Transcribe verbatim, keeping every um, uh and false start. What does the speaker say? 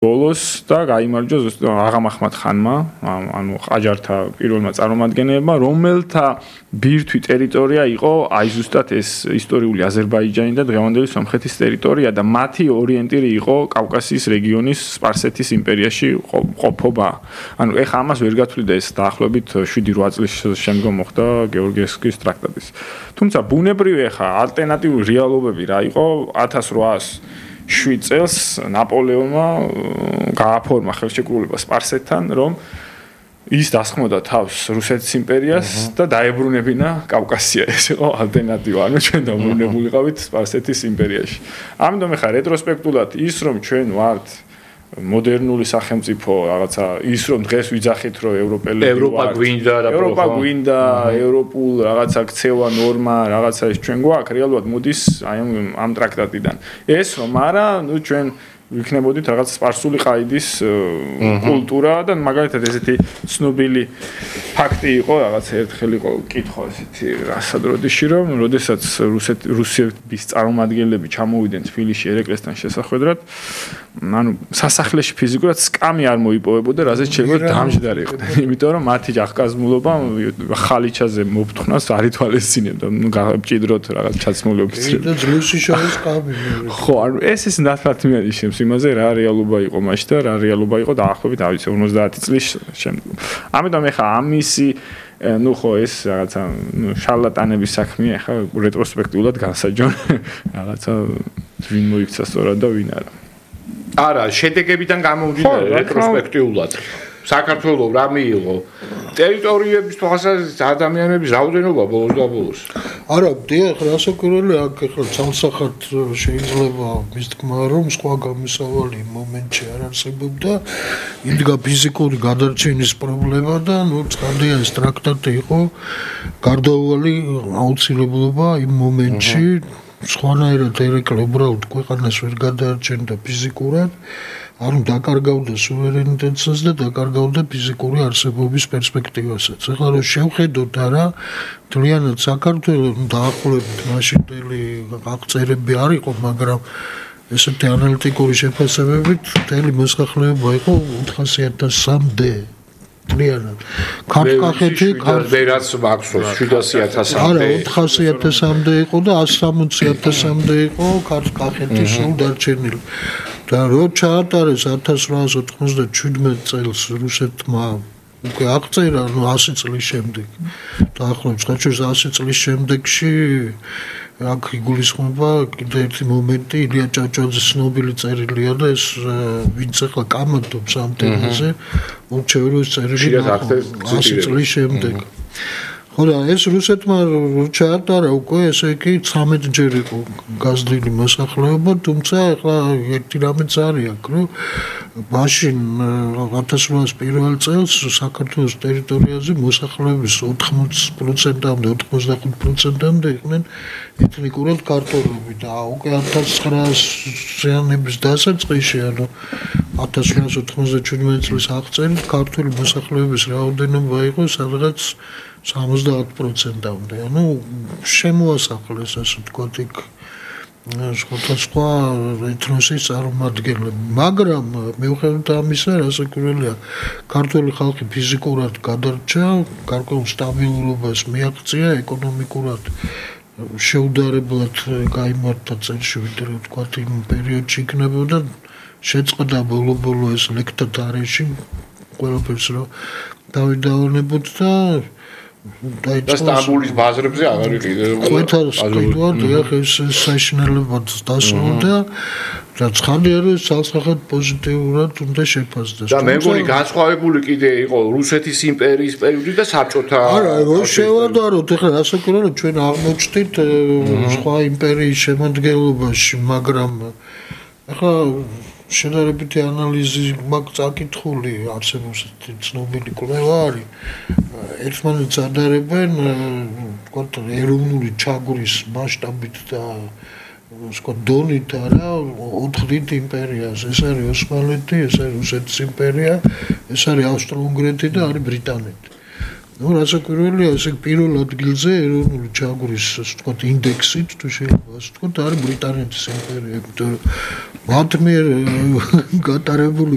ბოლოს და გაიმარჯვა აღამ ახმად ხანმა, ანუ ყაჯართა პირველმა წარმომადგენლებმა, რომელთა ბირთვი ტერიტორია იყო აი ზუსტად ეს ისტორიული აზერბაიჯანი და დღევანდელი სომხეთის ტერიტორია და მათი ორიენტირი იყო კავკასიის რეგიონის სპარსეთის იმპერიაში ყოფობა. ანუ ეხა ამას ვერ გათვლიდა ეს დაახლოებით შვიდი რვა წლის შემდგომ მოხდა გეორგიევსკის ტრაქტატის. თუმცა ბუნებრივი ეხა ალტერნატიული რეალობები რა იყო ათას რვაას შვიდ წელს ნაპოლეონმა გააფორმა ხელშეკრულება სპარსეთთან, რომ ის დასხმოდა თავს რუსეთის იმპერიას და დაებრუნებინა კავკასია. ეს იყო ალტერნატივა, ანუ ჩვენ დაბრუნებულიყავით სპარსეთის იმპერიაში. ამიტომ ეხა რეტროსპექტულად ის რომ ჩვენ ვართ მოდერნული სახელმწიფო, რაღაცა ის რომ დღეს ვიძახით რომ ევროპელები ვართ. ევროპა გვინდა რა ევროპა გვინდა, ევროპულ რაღაცა ქცევა ნორმა, რაღაცა ეს ჩვენ გვაქვს, რეალურად მოდის აი ამ ტრაქტატიდან. ეს რომ არა, ნუ ჩვენ ვიქნებოდით რაღაც სპარსული ყაიდის კულტურა და მაგალითად ესეთი ცნობილი ფაქტი იყო, რაღაც ერთხელ იყო კითხვა ესეთი რასადროდიში რომ როდესაც რუსეთ რუსეთის წარმომადგენლები ჩამოვიდნენ თბილისში ერეკლესთან შესახვედრად, ანუ სასახლეში ფიზიკურად სკამი არ მოიპოვებოდა, რაზეც შეიძლება დამჯდარიყო. იმიტომ რომ მათი ახკაზმულობა ხალიჩაზე მოფთხნას არ ითვალისწინებდა, ნუ გამჭიდროთ რაღაც ჩაცმული ოფიცრები. და ძლიუსი შორის სკამი. ხო, ანუ ეს ის ნათლად მიანიშნებს იმაზე რა რეალობა იყო მაშინ და რა რეალობა იყო დაახლოებით ავიცი ორმოცდაათი წლის შემდგომ. ამიტომ ეხა ამისი ну ხო ეს რაღაცა ну შარლატანების საქმეა ეხა რეტროსპექტიულად განსაჯონ რაღაცა ვინ მოიქცა სწორად და ვინ არა. არა, შედეგებიდან გამომდინარე რეტროსპექტიულად. საქართველოს რა მიიღო? ტერიტორიების თვალსაზრისით ადამიანების რაოდენობა ბოლოს და ბოლოს. არა, დიახ, რასაკვირველია, აქ ახლა ცალსახად შეიძლება მის თქმა რომ სხვა გამოსავალი მომენტში არ არსებობდა, იდგა ფიზიკური გადარჩენის პრობლემა და ნუ ცხადია ეს ტრაქტატი იყო გარდაუვალი აუცილებლობა იმ მომენტში. სხვანაირად ერეკლე უბრალოდ ქვეყანას ვერ გადაარჩენდა ფიზიკურად, არ უნდა დაკარგავდა სუვერენიტეტსაც და დაკარგავდა ფიზიკური არსებობის პერსპექტივასაც. ეხლა რომ შევხედოთ არა, მთლიანად საქართველოს დაახლოებით მაშინდელი აღწერები არ იყო, მაგრამ ესეთი ანალიტიკური შეფასებებით მთელი მოსახლეობა იყო ოთხასი ათასამდე. ქართკახეთი ვერაც მაქსოს შვიდასი ათასამდე. არა, ოთხასი ათასამდე იყო და ასი სამოცი ათასამდე იყო ქართკახეთი სულ დარჩენილი. და რო ჩაატარეს ათას რვაას ოთხმოცდაშვიდმეტ წელს რუსეთმა უკვე აღწერა, ნუ ასი წლის შემდეგ. დაახლოებით ხოჭოს ასი წლის შემდეგში აქ იგულისხმება კიდე ერთი მომენტი, ილია ჭავჭავაძის ცნობილი წერილია და ეს ვინც ახლა კამათობს ამ თემაზე, მორჩეურის წერილი ასი წლის შემდეგ. ხო და ეს რუსეთმა ჩაატარა უკვე ესე იგი ცხრამეტჯერ იყო გაზრდილი მოსახლეობა, თუმცა ახლა ერთი რამეც არის აქ, რომ მაშინ ათას რვაას პირველ წელს საქართველოს ტერიტორიაზე მოსახლეობის ოთხმოცი პროცენტამდე, ოთხმოცდახუთ პროცენტამდე იყვნენ ეთნიკურად ქართველები და უკვე ათას ცხრაასიანების დასაწყისში, ანუ ათას რვაას ოთხმოცდაშვიდმეტ წლის აღწერით ქართული მოსახლეობის რაოდენობა იყო სადღაც სამოცდაათ პროცენტამდე. ანუ შემოასახლეს ასე ვთქვათ იქ სხვადასხვა ეთნოსის წარმომადგენლები, მაგრამ მიუხედავად ამისა, რასაკვირველია, ქართული ხალხი ფიზიკურად გადარჩა, გარკვეულ სტაბილურობას მიაღწია, ეკონომიკურად შეუდარებლად გაიმართა წელში, ვიდრე ვთქვათ იმ პერიოდში იქნებოდა, შეწყდა ბოლო-ბოლო ეს ლექტა თარეში, ყველაფერს რომ დავიდავნებოთ და და სტამბოლის ბაზრებზე აღარ იყიდე. ყველას ყიდვა, დიახ, ეს საშინელებად დასრულდა და ცხადია რომ ცალსახად პოზიტიურად უნდა შეფასდეს. და მე მგონი განსხვავებული კიდე იყო რუსეთის იმპერიის პერიოდი და საბჭოთა. არა, რო შევადაროთ, ახლა რასაკვირველია, ჩვენ აღმოჩნდით სხვა იმპერიის შემადგენლობაში, მაგრამ ახლა შედარებითი ანალიზი მაქვს წაკითხული, არსებობს ცნობილი კვლევა არის. ერთმანეთს ადარებენ, ვთქვათ, ეროვნული ჩაგვრის მასშტაბით და ვთქვათ, დონით არა, ოთხდით იმპერიას. ეს არის ოსმალეთი, ეს არის რუსეთის იმპერია, ეს არის ავსტრო-უნგრეთი და არის ბრიტანეთი. ну რასაკვირველია ესე პირველ ადგილზე ეროვნული ჩაგვრის ასე ვთქვათ ინდექსით თუ შეიძლება ასე ვთქვათ არის ბრიტანეთის იმპერია, იმიტომ რომ მათ მიერ გატარებული